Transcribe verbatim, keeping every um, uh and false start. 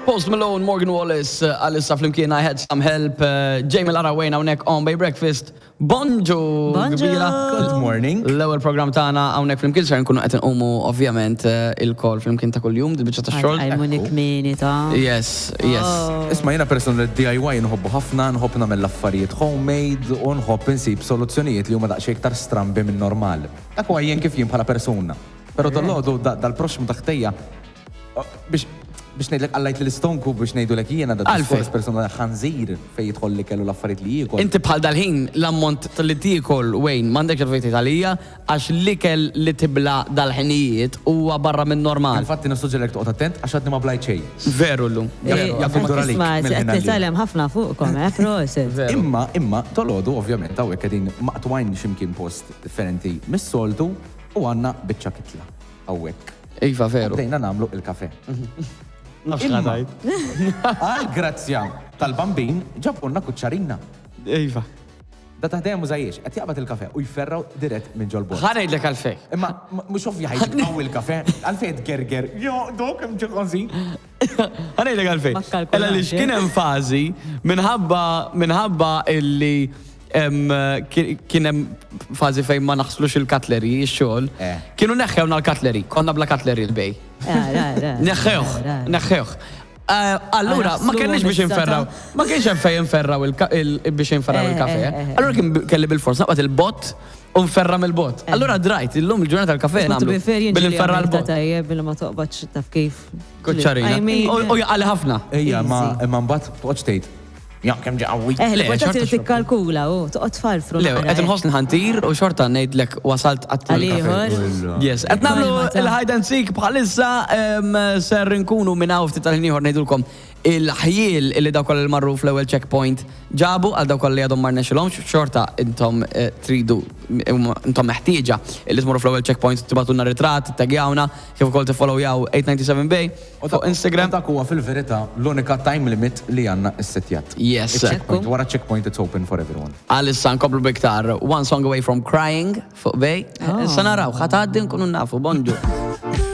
Post Malone, Morgan Wallis, uh, għalissa flimkien I Had Some Help, uh, Jamie Lara Wayne hawnhekk on Bay Breakfast. Bonġu! Bonġu! kbira. Good morning. L-ewwel program tagħna hawnhekk flimkien ser nkunu qed inqumu ovvjament uh, il-kol flimkien ta' kuljum, dil-biċċa ta' xogħol. Għajmuni kmini ta' Yes, yes. Isma' jiena person li D I Y nħobbu ħafna, nħobb nagħmel l-affarijiet homemade u nħobb insib soluzzjonijiet li huma daqsxejn iktar strambi minn normal. Dak huwa jien kif jien bħala persuna. Però dal-għodu dal-proxmu taħtejja biex biex ngħidlek għallajt li l-istonku biex ngħidulek jiena da Għalfejn? Diskors persona ħanżir fejn jidħol li kellu l-affarijiet li jiekol. Inti bħal dal-ħin l-ammont li tiekol, Wayne, m'għandekx għalfejn tgħid għalija għax l-ikel li tibla dal-ħinijiet huwa barra minn normal. Infatti nissuġġerek toqgħod attent għax għadni ma blajt xejn. Veru llum. Veru, jaf indur għalik Isma, mill-ħin qed għal nitgħallem ħafna fuqkom, eh, prosit. Veru. Imma, imma, tolodu, ovvjament, hawnhekk qegħdin maqtwajn ximkien post differenti mis-soltu u għandna biċċa kitla hawnhekk. Iva, veru. Bdejna nagħmlu il-kafe. Nafx Imma- ħa tgħid. Għal grazzja tal-bambin ġabunna kuċċarina. Iva. Da taħdejja mużajiex, qed jaqbad il-kafe u jferraw dirett minn ġol-bol. Ħa ngħidlek għalfejn. Imma m- mhux ovvja ħa jġib qawwi il-kafe, għalfejn tgerger. Jo, dok hemm ġi ħażin. Ħa ngħidlek għalfejn. Ma kkalkulax, Ella li eh? kien hemm fażi minħabba minħabba illi em, ki- kien hemm fażi fejn ma naħslux il-cutlery, ix-xogħol. Eh. Kienu neħħewna l-cutlery, konna bla cutlery l-bej. Neħħewh, neħħewh. Eh, Allura, ma Naħslu kenniex biex issa inferraw, ma kienx hemm fejn inferraw il- il- biex inferraw Eh, il-kafe. eh, eh, Allura kien kelli bil-fors naqbad il-bott u nferra mill-bott. Allura drajt, illum il-ġurnata tal-kafe nagħmlu bil-inferra l-bott. Tajjeb billi ma toqbadx taf kif. Kuċċarina. I mean, U jaqali ħafna. Ejja, ma imma mbagħad toqgħodx tgħid. Ja, kemm ġi qawwi. Eh, Le, l-importanti xorta li tikkalkula u toqgħod farfru. Le, naqra, qed eh. inħoss nħantir u xorta ngħidlek wasalt għat Għal-ieħor. Yes, qed nagħmlu Kalma ta' il-hide and seek bħalissa em, ser nkunu minn hawn ftit tal-ħin ieħor ngħidulkom il-ħjiel illi dawk kollha li marru fl-ewwel checkpoint ġabu għal dawk kollha li għadhom ma rnexxilhomx, xorta intom eh, tridu intom meħtieġa illi tmorru fl-ewwel checkpoint tibgħatulna ritratt, taggjawna, kif ukoll tiffollowjaw eight ninety-seven Bay fuq Instagram. U dak huwa fil-verità l-unika time limit li għandna s-setjat. Yes. Il-checkpoint, wara checkpoint it's open for everyone. Għalissa nkomplu biktar One Song Away From Crying fuq Bay. Oh. Issa naraw, ħa tgħaddi nkunu nafu, bonġu.